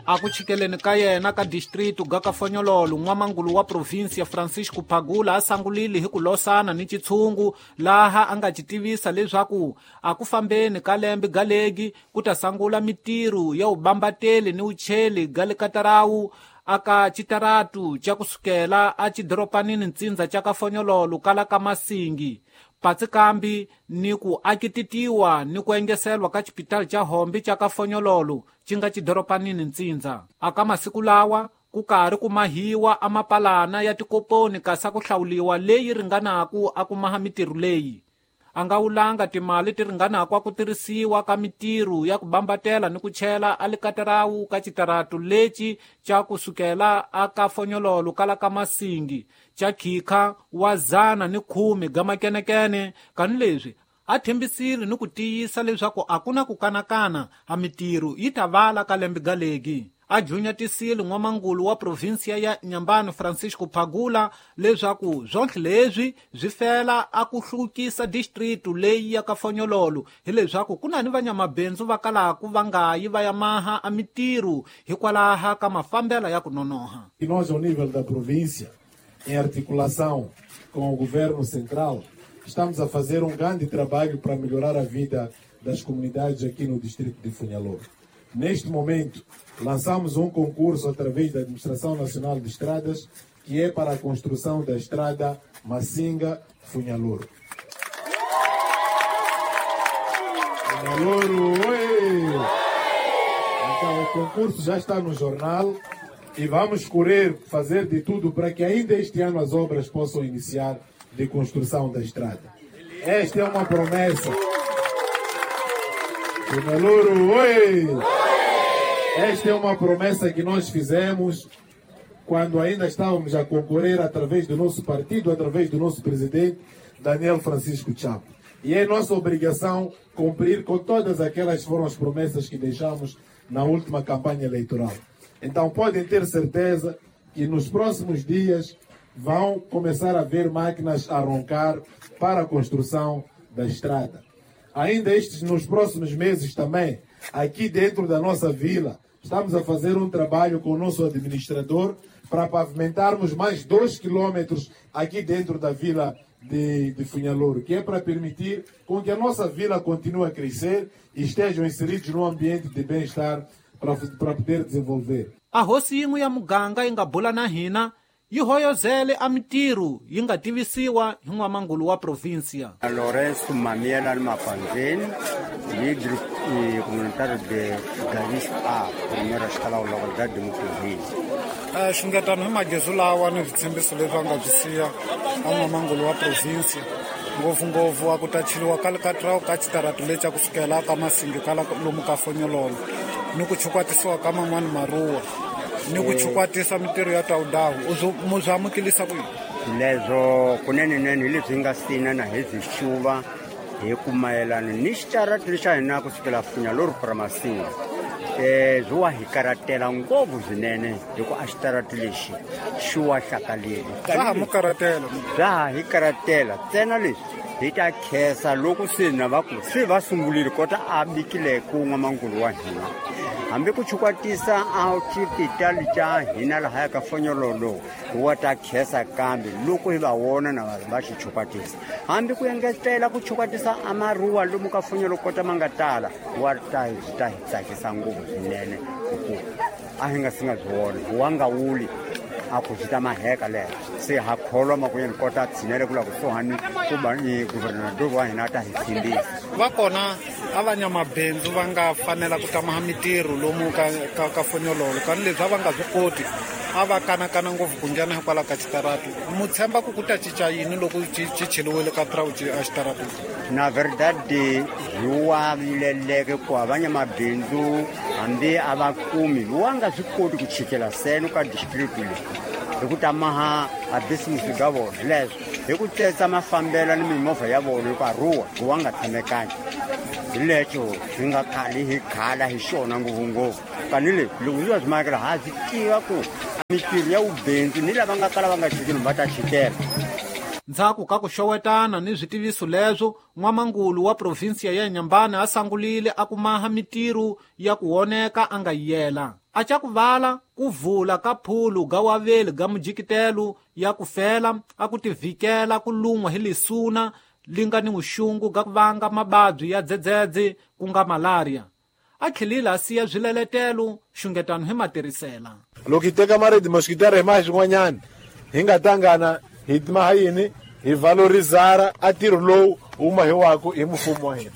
A ku chikeleni ka yena ka distritu ga Kafonyololo, n'wamangulu wa provinsia Francisco Phagula a sangulile hi ku losana ni chitshungu laha a nga ci tivisa leswaku a ku fambeni ka lembe galegi ku ta sangula mitirho ya ubambateli ni ucheli ga le katarawu aka chitaratu cha kusukela a chidoropanini ntsindza cha Kafonyololo kala ka Masingi. Patsi kambi ni ku akititiwa ni ku engeselwa ka chipitali cha Hombe cha Kafonyololo ci nga chidoropanini ntsindza. Aka masiku lawa ku karhi ku mahiwa amapalana ya tikoponi kasi ku hlawuliwa leyi ringanaku a ku maha mitirho leyi. A nga wulanga timali ti ringanaku a ku tirhisiwa ka mitirho ya ku bambatela ni ku chela a likatarawu ka chitaratu lexi cha kusukela a Kafonyololo kala ka Masingi cha khikha wa 110 ga makenekene. Kani leswi a thembisile ni ku tiyisa leswaku a ku na ku kanakana a mitirho yi ta vala ka lembe galegi. A junyatisile n'wamangulu wa provinsia ya Inhambane Francisco Phagula leswaku swonhle leswi swi fela a ku hluvukisa distritu leyi ya Kafonyololo, hileswaku ku na ni vanyamabindzu va kalaku va nga yi va ya maha a mitirho hikwalaha ka mafambela ya ku nonoha. E nós, ao nível da província, em articulação com o governo central, estamos a fazer um grande trabalho para melhorar a vida das comunidades aqui no distrito de Funhalouro. Neste momento, lançamos um concurso através da Administração Nacional de Estradas, que é para a construção da estrada Massinga-Funhalouro. Funhalouro, oi! Então, o concurso já está no jornal e vamos correr, fazer de tudo para que ainda este ano as obras possam iniciar de construção da estrada. Esta é uma promessa. Funhalouro, oi! Esta é uma promessa que nós fizemos quando ainda estávamos a concorrer através do nosso partido, através do nosso presidente, Daniel Francisco Chapo. E é nossa obrigação cumprir com todas aquelas que foram as promessas que deixamos na última campanha eleitoral. Então podem ter certeza que nos próximos dias vão começar a ver máquinas a roncar para a construção da estrada. Ainda estes, nos próximos meses também, aqui dentro da nossa vila, estamos a fazer um trabalho com o nosso administrador para pavimentarmos mais 2 quilômetros aqui dentro da vila de Funhalouro, que é para permitir com que a nossa vila continue a crescer e estejam inseridos num ambiente de bem-estar para poder desenvolver. A hosi yin'we ya muganga yi nga bula na hina yi hoyozele a mitirho yi nga tivisiwa hi n'wamangulu wa provinsia. Lourenço Mamiela Mapanzeni, líder comunitário de Garis A, primeira escala da localidade de Mucugê. Xingetano hi magezu lawa ni switshembiso leswi a nga byi siya a n'wamangulu wa provinsia, ngopfungopfu a ku ta cheliwa ka likatrawu ka chitaratu lexi a kusukela ka Masingi ka lomu ka Fonyololo, ni ku chukwatisiwa ka man'wani maruwa, ni ku chukwatisa mitirho ya tawudawu. Mu byi amukelisa ku yini? Leswo kunene-nene hi leswi hi nga sina na hi byi xuva hi ku mayelana ni xitaratu lexa hina kusukela Funhalouro para Masinga. Byi wa hi karatela ngopfu swinene hi ku a xitaratu lexi xi wa hlakaleli. Swa ha mu karatela. Swa ha hi karatela ntsena leswi hi ta khensa loko se na va ku se va sungurile kota a bikile ku n'wamangulu wa hina. Hambi ku chukwatisa a xipitali xa hina lahaya ka Fonyololo wa ta khensa kambe loko hi va vona na va xi chukwatisa. Hambi ku engetela ku chukwatisa a maruwa lomu ka Fonyololo kota ma nga tala wa ta ta hi tsakisa ngopfu swinene hikuva a hi nga si nga byi vona wa nga wuli a ku swi ta maheka lero se ha kholwa makunyeni kota tshinele ku la kusuhani ku ba ni governador wa hina ta hi tshembisa. Va kona a va nyamabindzu va nga fanela ku tamaha mitirho lomu ka Fonyololo, kani leswi a va nga swi koti a va kanakana ngopfu ku nghena hikwalaho ka xitaratu. Mu tshemba ku ku ta cinca yini loko ci cheliwile ka trawu a xitaratu? Na verdade hi wa vileleke ku a va nyamabindzu hambi a va kumi wa nga swi koti ku chikela seno ka district leyi hi ku tamaha a business ga vona leswo hi ku tsetsa mafambelo ni mimovha ya vona hi ku aruwa ku wa nga tshamekangi. Hi lexo hi nga khali hi khala hi xona ngopfungopfu kani le loko swi va swi makela ha swi tiva ku mitirho ya vubindzu ni lava nga kala va nga chikeli va ta chikela. Ndzhaku ka ku xowetana ni switiviso leswo, n'wamangulu wa provinsia ya Inhambane a sangulile a ku maha mitirho ya ku woneka a nga yela. A ca ku vala ku vula ka phulu ga waveli ga mujikitelo ya ku fela a ku tivikela ku lun'wa hi lisuna li nga ni vuxungu ga ku vanga mababyi ya dzedzedze ku nga malaria. A tlhelile a siya swileletelo xungetano hi matirhisela. Loko hi teka maredi mosquitara hi maha xin'wanyana hi nga tangana hi maha yini hi valorizara a ntirho lowu wu mahiwaku hi mfumo wa hina.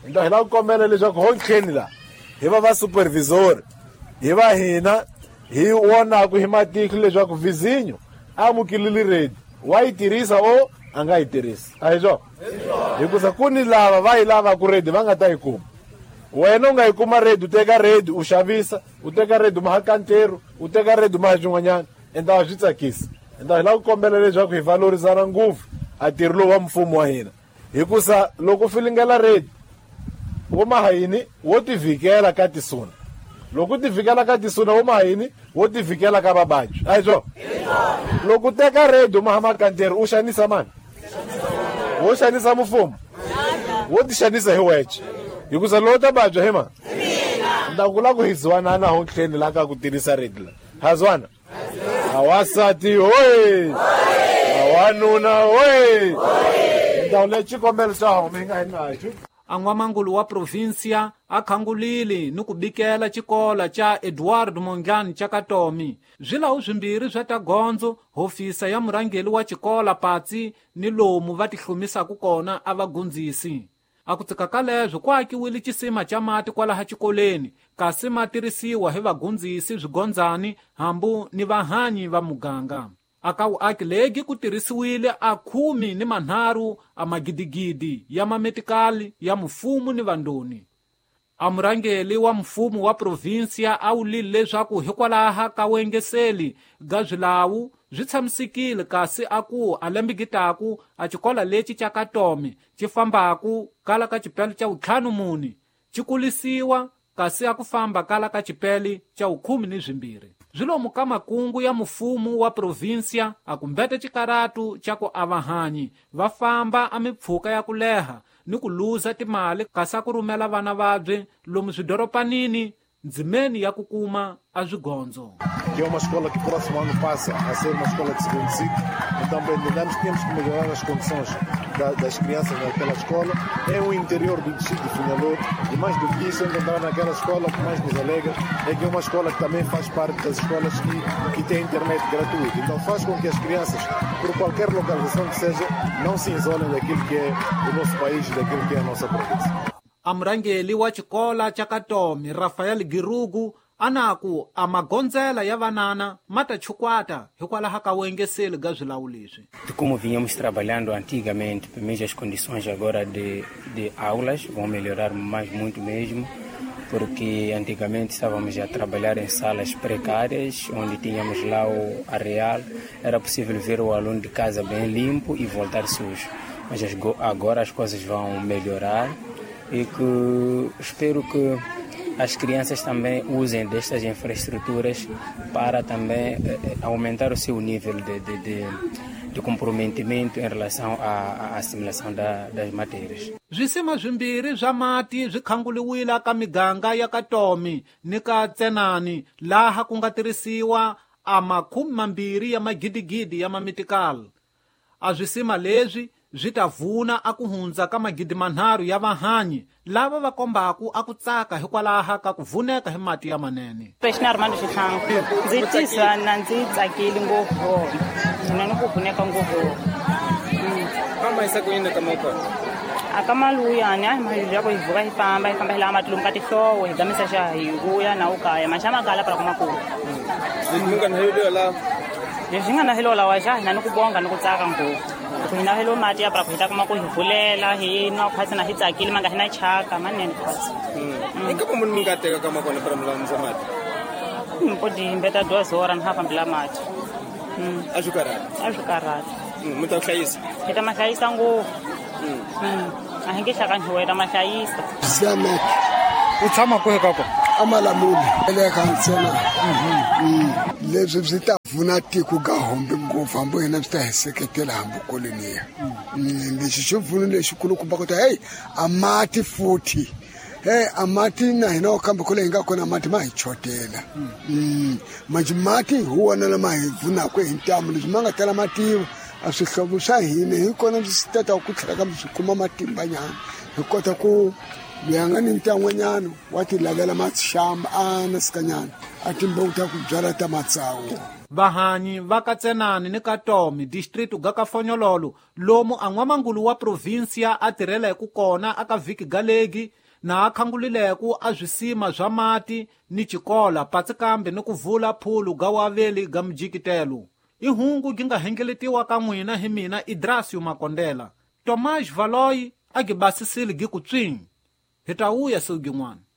Hi lava ku kombela leswaku hontlheni la hi va va supervisor hi va hina hi vonaku hi matihlo leswaku vizinyo a amukelile redi wa yi tirhisa o a nga yi tirhisi. A hi swona? Hikusa ku ni lava va yi lavaku redi va nga ta yi kuma. Wena u nga yi kuma redi, u teka redi u xavisa, u teka redi u maha kanteru, u teka redi u maha swin'wanyana, ende a swi tsakisi. Ende hi lava ku kombela leswaku hi valorizana ngopfu a ntirho lowu wa mfumo wa hina. Hikusa loko u filingela redi wo maha yini wo tivikela ka tisuna. Loko u tivikela ka tisuna wo maha yini wo tivikela ka vavabyi. A hi swona? Loko u teka redi u maha makanteri u xanisa mani? Wo xanisa mfumo? Wo ti xanisa hi wexe. Hikusa loko ta vabya hi mani? Nda ku lava ku hi zwanana hontlheni la ka ku tirhisa redi la. Ha zwana? Awasati hoye! Awanuna hoye! Ndhawu leyi xikombelo xa home hi nga hi naxo. A n'wamangulu wa provinsia a khangulile ni ku bikela xikola xa Eduardo Mondlane xa Katomi. Swilawu swimbirhi swa ta gondzo, hofisa ya murhangeri wa xikola patsi ni lomu va tihlumisaka kona a va gundzisi. A ku tsika ka leswo ku akiwile xisima xa mati kwalaha xikoleni, kasi ma tirhisiwa hi vagundzisi swigondzani hambu ni vahanyi va muganga. A ka vuaki legi ku tirhisiwile a 13 a magidigidi ya mametikali ya mfumo ni vandoni. A murhangeri wa mfumo wa provinsia a wulile leswaku hikwalaha ka wengeseli ga swilawu swi tshamisekile, kasi a ku a lembigitaku a xikola lexi xa Katomi xi fambaku kala ka xipele xa 54 xi kulisiwa, kasi a ku famba kala ka xipele xa 12. Swilomu ka makungu ya mfumo wa provinsia a kumbete xikaratu xa ku avahanyi va famba a mipfhuka ya ku leha ni ku luza timali kasi a ku rhumela vana vabye lomu swidoropanini ndzimeni ya ku kuma a swigondzo. Que é uma escola que próximo ano passa a ser uma escola de segundo ciclo, então entendemos que temos que melhorar as condições das crianças naquela escola. É o interior do distrito de Funhalouro e mais do que isso, encontrar naquela escola o que mais nos alegra é que é uma escola que também faz parte das escolas que tem internet gratuita. Então faz com que as crianças, por qualquer localização que seja, não se isolem daquilo que é o nosso país e daquilo que é a nossa província. A murhangeri wa xikola xa Katomi Rafael Girugu anaku a magondzela ya vanana ma ta chukwata hikwalaho ka wengeseli ga swilawu leswi. De como vinhamos trabalhando antigamente, pelo menos as condições agora de aulas vão melhorar mais muito mesmo, porque antigamente estávamos a trabalhar em salas precárias, onde tínhamos lá o areal, era possível ver o aluno de casa bem limpo e voltar sujo. Mas agora as coisas vão melhorar e que espero que as crianças também usem destas infraestruturas para também aumentar o seu nível de comprometimento em relação à assimilação das matérias. Swisima swimbirhi swa mati swi khanguliwile ka miganga ya Katomi ni ka Tsenani laha ku nga tirhisiwa a 20 ya magidigidi ya mamitikali. A swisima leswi swi ta vuna a ku hundza ka 3,000 ya vahanyi lava va kombaku a ku tsaka hikwalaha ka ku vuneka hi mati ya manene. Preshina Armando Xihlangu, ndzi tisa na ndzi tsakile ngopfu na ni ku vuneka ngopfu. Mama isa ku yini ka moko? A ka maluyani a hi mali ya ku hi vuka hi famba hi lava mati lomu ka tihlowo hi gamisa xa hi vuya na ukaya maxama kala para kuma ku. Leswi nga na helo lawa xa hina ni ku bonga ni ku tsaka ngopfu. Ku hina helo mati ya para ku hi ta kuma ku hi vulela hi nwa khwatsi na hi tsakile ma nga hina chaka manene khwatsi. I ka munhu mi nga teka ka makona para mulamisa mati? Mpodi mbeta 2 horas ni ha fambela mati. A swi karhati? A swi karhati. Mi ta hlayisa? Hi ta ma hlayisa ngopfu. A hi nge hlakanyiwa hi ta ma hlayisa. Zamek. U tshama kwihi ka kona? Amalamuli le ka ntsena. Leswi swi ta pfuna tiko ka hombe ngopfu hambi hina swi ta hi seketela hambi koloniya. Lexi xi pfuno lexikulukumba ku ta hey a mati futhi A mati na hina kambe kule hi nga kona mati ma hi chotela. Manje mati hi wona lama hi pfunaka hi ntamu, leswi ma nga tala mativa a swihlovo swa hina hi kona swi tata ku tlhela kambe swi kuma matimbanyana, hi kota ku loyi a nga ni ntan'wanyana wa ti lavela maxamba a nasikanyana a timbewu ta ku byala ta matsawu. Vahanyi va ka Tsenani ni ka Tomi district ga ka Fonyololo lomu a n'wamangulu wa provinsia a tirheleku kona aka vhiki galegi na a khangulileku a swisima swa mati ni xikola patsi kambe ni ku vula phulu ga waveli ga mujikitelo. I hungu gi nga hengeletiwa ka n'wina hi mina Idrasio Makondela. Tomás Valoyi a gi basisile gi ku tswing. Hi ta vuya siku gin'wana.